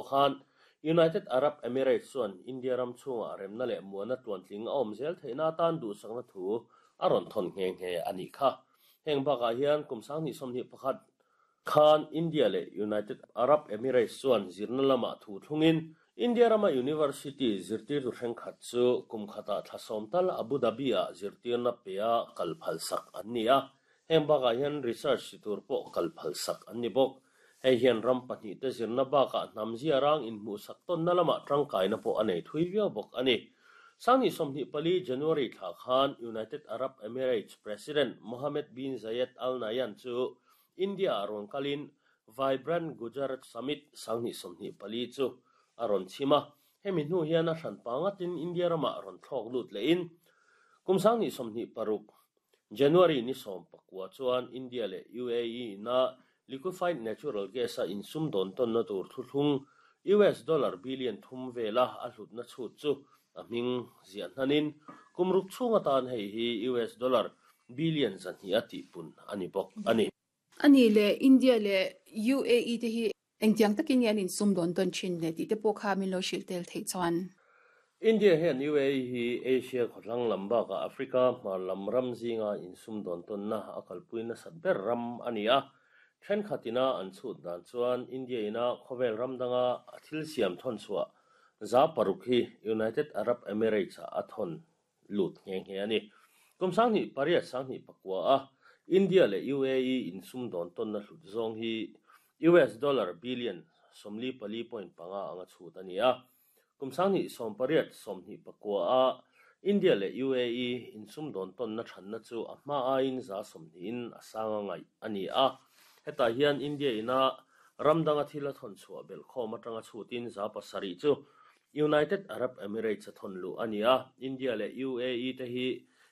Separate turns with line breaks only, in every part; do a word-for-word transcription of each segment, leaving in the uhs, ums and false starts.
khan United Arab Emirates chuan India ram chhungah remna leh muana tluantling a awm zel theihna atan duhsakna thu a rawn thawn nghe nghe a nih kha. Heng bakah hian kum sanghnih sawmhnih pakhat khan India leh United Arab Emirates chuan zirna lamah thu thlungin India rama University zirtirtu thenkhat chu kum khatah thla sawm tal Abu Dhabi ah zirtirna pe a kal phal sak an ni a. Heng bakah hian research ti tur pawh kal phal sak an ni bawk. Hei hian ram pahnih te zirna bakah hnam zia rang inhmuh sak tawnna lamah tangkaina pawh a nei thui viau bawk a ni. Sanghnih sawmhnih pali January thla khan United Arab Emirates President Mohammed bin Zayed Al Nahyan chu India ah rawn kalin Vibrant Gujarat Summit sanghnih sawmhnih pali chu a rawn chim a. Hemi hnu hian a hran pangatin India ramah rawn thlawk lut lehin kum sanghnih sawmhnih paruk January ni sawm pakua chuan India leh U A E ina liquefied natural gas a insum dawn tawnna tur thuthlung U S dollar billion thum vela a hlutna chhut chu a hming ziah hnanin kum ruk chhung atan hei hi U S dollar billion zahnih a tihpun a ni bawk a ni.
Ani le India le U A E te hi engtiang takin nge an insum dawn tawn thin le tih te pawh kha min lo hrilh tel theih chuan.
India hian U A E hi Asia khawthlang lam bakah Africa hmar lam ram zinga insum dawn tawnna a kalpui nasat ber ram a ni a. Thenkhatina an chhut dan chuan India ina khawvel ram danga a thil siam thawn chhuah za paruk hi United Arab Emirates ah a thawn lut nghe nghe a ni. Kum sanghnih pariat sanghnih pakua a India leh U A E insum dawn tawnna hlut zawng hi U S dollar billion sawmli pali point panga anga chhut a ni a. Kum sanghnih sawm pariat sawmhnih pakua a India leh U A E insum dawn tawnna thanna chu a hma aiin za sawmhnihin a sanga ngaih a ni a. Hetah hian India ina ram danga thil a thawn chhuah belhkhawm atanga chhutin za pasarih chu United Arab Emirates a thawn luh a ni a. India leh U A E te hi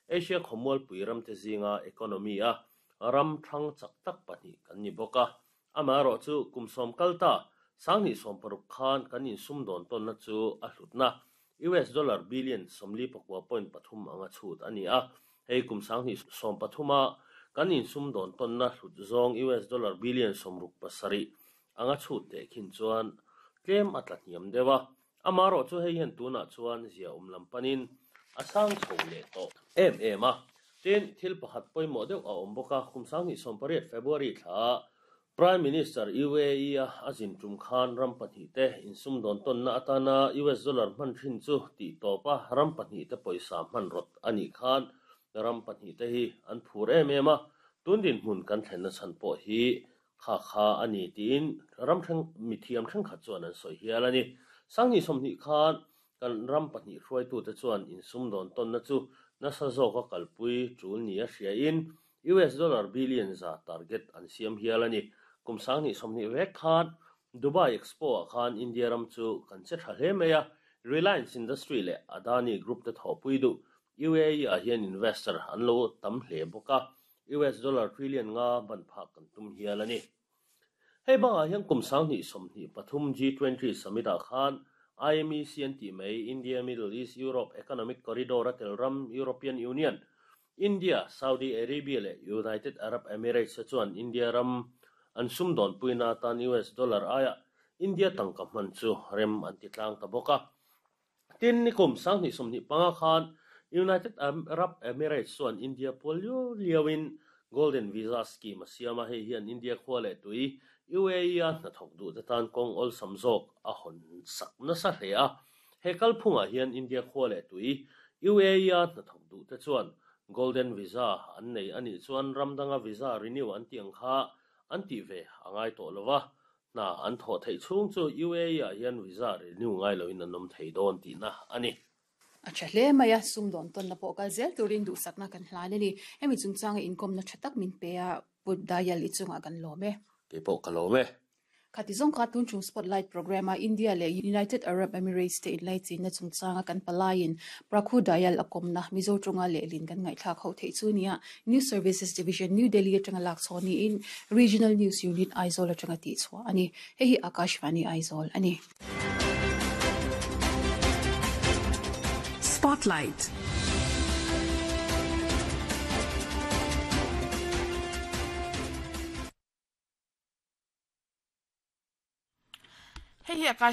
Asia khawmualpui ram te zinga economy a ram thang chak tak pahnih kan ni bawk a. Amaherawh chu kum sawm kal ta sanghnih sawm paruk khan kan insum dawn tawnna chu a hlutna U S dollar billion sawmli pakua point pathum anga chhut a ni a. Hei kum sanghnih sawm pathuma kan insum dawn tawnna hlut zawng U S dollar billion sawmruk pasarih anga chhut te khin chuan tlem a tla hniam deuh a. Amaherawh chu hei hian tunah chuan zia awm lam panin a sang chho leh tawh em em a. Tin, thil pakhat pawimawh deuh a awm bawk a. Kum sanghnih sawm pariat February thla Prime Minister U A E a a zin tum khan ram pahnih te insum dawn tawnna atana U S dollar hman thin chu tih tawp a ram pahnih te pawisa hman rawt a nih khan ram pahnih te hi an phur em em a. Tun dinhmun kan thlenna chhan pawh hi kha kha a ni tiin ram then mithiam thenkhat chuan an sawi hial a ni. Sanghnih sawmhnih khan kan ram pahnih hruaitute chuan insum dawn tawnna chu nasa zawk a kalpui tul ni a hriain U S dollar billion za target an siam hial a ni. Kum sanghnih sawmhnih vek khan Dubai Expo ah khan India ram chu kan che tha hle mai a. Reliance Industry leh Adani Group te thawhpui duh U A E ah hian investor an lo tam hle bawk a. U S dollar trillion nga ban phak kan tum hial a ni. Hei bangah hian kum sanghnih sawmhnih pathum G twenty Summit ah khan I M E C an tih mai India Middle East Europe Economic Corridor a tel ram European Union, India, Saudi Arabia leh United Arab Emirates te chuan India ram an sum dawn puina atan U S dollar aia India tangka hman chu rem an ti tlang ta bawk a. Tin, nikum sanghnih sawmhnih panga khan United Arab Emirates chuan India pual liau liauin Golden Visa Scheme a siam a. Hei hian India khua leh tui U A E a hnathawk duh te tan kawng awlsam zawk a hawn sak nasa hle a. He kalphungah hian India khua leh tui U A E a hnathawk duh te chuan Golden Visa an nei anih chuan ram danga visa renew an tih ang kha an tih ve a ngai tawh lova. Hna an thawh theih chhung chu U A E ah hian visa renew ngai loin an awm thei dawn tihna a ni.
A tha hle mai a, sum dawn tawnna pawh kal zel turin duhsakna kan hlan a ni. Hemi chungchanga inkawmna tha tak min pe a, Pu Dayal i chungah kan lawm e.
Kei pawh ka lawm e.
Khati zawng kha tun chung Spotlight program a India leh United Arab Emirates te inlaichinna chungchanga kan palaiin Prakhu Dayal a kawmna Mizo tawnga lehlin kan ngaihthlak ho theih chu nia. News Services Division New Delhi atanga lak chhaw niin Regional News Unit Aizawl atanga tih chhuah a ni. Hei hi Akashvani Aizawl a ni.
Spotlight.
Hei hi Akash